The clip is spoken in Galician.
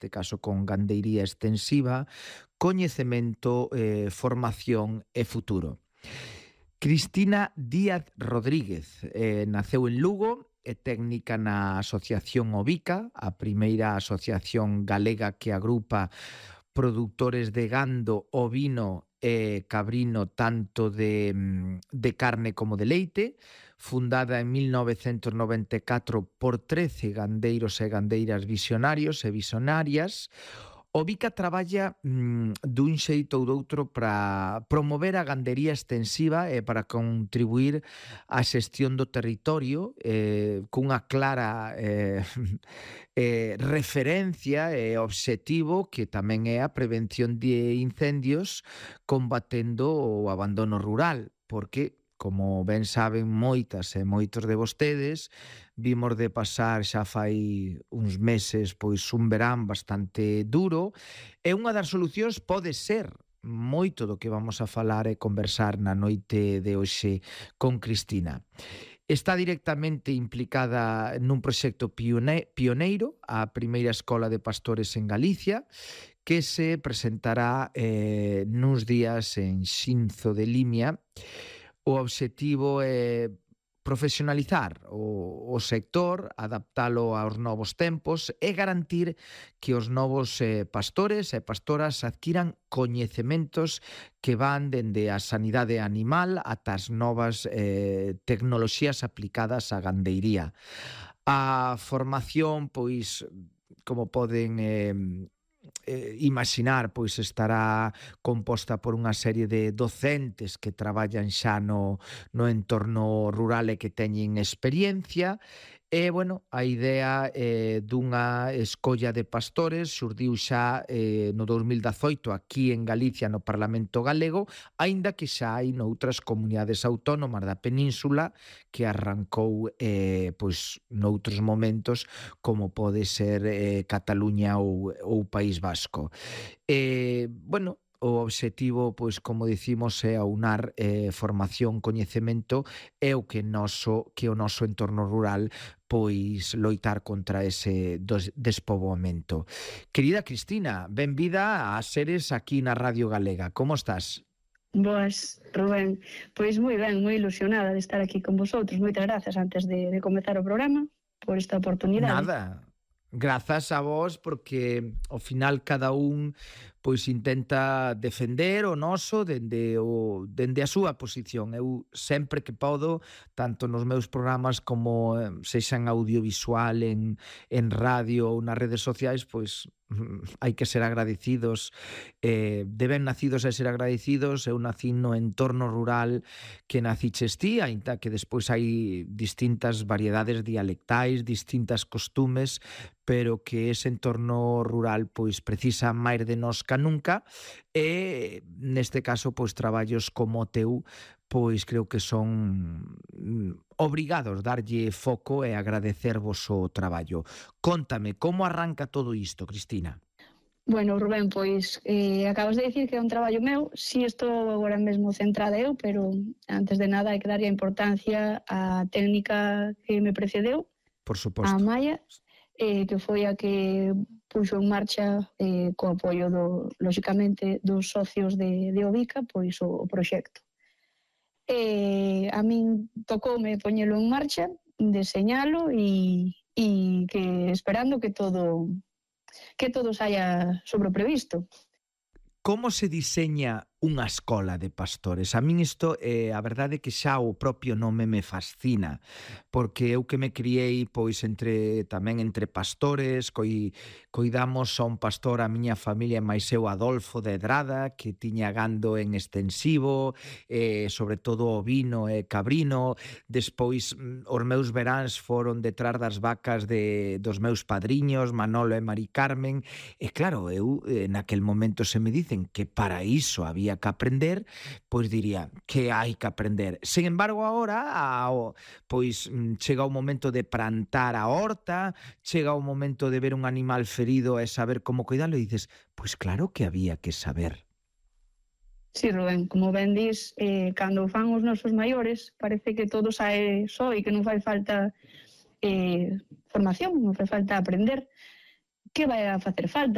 neste caso con gandeiría extensiva, coñecemento, formación e futuro. Cristina Díaz Rodríguez naceu en Lugo, é técnica na Asociación Ovica, a primeira asociación galega que agrupa produtores de gando, ovino e cabrino tanto de carne como de leite, fundada en 1994 por 13 gandeiros e gandeiras visionarios e visionarias. Ovica traballa dun xeito ou doutro para promover a gandería extensiva e para contribuir á xestión do territorio cunha clara referencia e obxectivo que tamén é a prevención de incendios combatendo o abandono rural, porque como ben saben moitas e moitos de vostedes, vimos de pasar xa fai uns meses pois un verán bastante duro e unha das solucións pode ser moito do que vamos a falar e conversar na noite de hoxe con Cristina. Está directamente implicada nun proxecto pioneiro, a primeira escola de pastores en Galicia, que se presentará nuns días en Xinzo de Limia. O obxectivo é profesionalizar o sector, adaptalo aos novos tempos e garantir que os novos pastores e pastoras adquiran coñecementos que van dende a sanidade animal ata as novas tecnoloxías aplicadas á gandeiría. A formación, pois, como poden imaginar, pois estará composta por unha serie de docentes que traballan xa no entorno rural e que teñen experiencia. E, bueno, a idea dunha escolla de pastores xurdiu xa no 2018 aquí en Galicia, no Parlamento Galego, aínda que xa hai noutras comunidades autónomas da península que arrancou pois noutros momentos como pode ser Cataluña ou País Vasco. Bueno, o obxectivo, pois, como dicimos, é aunar formación, coñecemento e o que o noso entorno rural pois loitar contra ese despoboamento. Querida Cristina, benvida a Seres aquí na Radio Galega. Como estás? Boas, Rubén. Pois moi ben, moi ilusionada de estar aquí con vosotros. Moitas grazas antes de comezar o programa por esta oportunidade. Nada. Grazas a vos porque ao final cada un pois intenta defender o noso dende a súa posición. Eu sempre que podo, tanto nos meus programas como sexan audiovisual en radio ou nas redes sociais, pois hai que ser agradecidos, de ben nacidos e ser agradecidos. Eu nací no entorno rural que naciches ti, aínda que despois hai distintas variedades dialectais, distintas costumes, pero que ese entorno rural pois precisa máis de nós ca nunca e neste caso pois traballos como o teu pois creo que son obrigados darlle foco e agradecervos o traballo. Cóntame, como arranca todo isto, Cristina? Bueno, Rubén, pois acabas de dicir que é un traballo meu. Si estou agora mesmo centrada eu, pero antes de nada hai que darlle a importancia á técnica que me precedeu, por suposto, a Maya, que foi a que puxo en marcha co apoio lóxicamente dos socios de Ovica, pois o proxecto. A min tocoume poñelo en marcha, deseñalo e que esperando que todo saia sobre o previsto. Como se diseña unha escola de pastores? A min isto, a verdade é que xa o propio nome me fascina, porque eu que me criei pois tamén entre pastores, coidamos a un pastor a miña familia, máis eu Adolfo de Edrada, que tiña gando en extensivo, sobre todo ovino e cabrino. Despois os meus veráns foron detrás das vacas dos meus padriños, Manolo e Mari Carmen, e claro, eu naquel momento se me dicen que para iso había que aprender, pois diría que hai que aprender. Sen embargo, agora pois chega o momento de plantar a horta, chega o momento de ver un animal ferido e saber como cuidalo e dices, pois claro que había que saber. Sí, Rubén, como ben dis, cando fan os nosos maiores, parece que todo sae só e que non fai falta formación, non fai falta aprender. que vai a facer falta?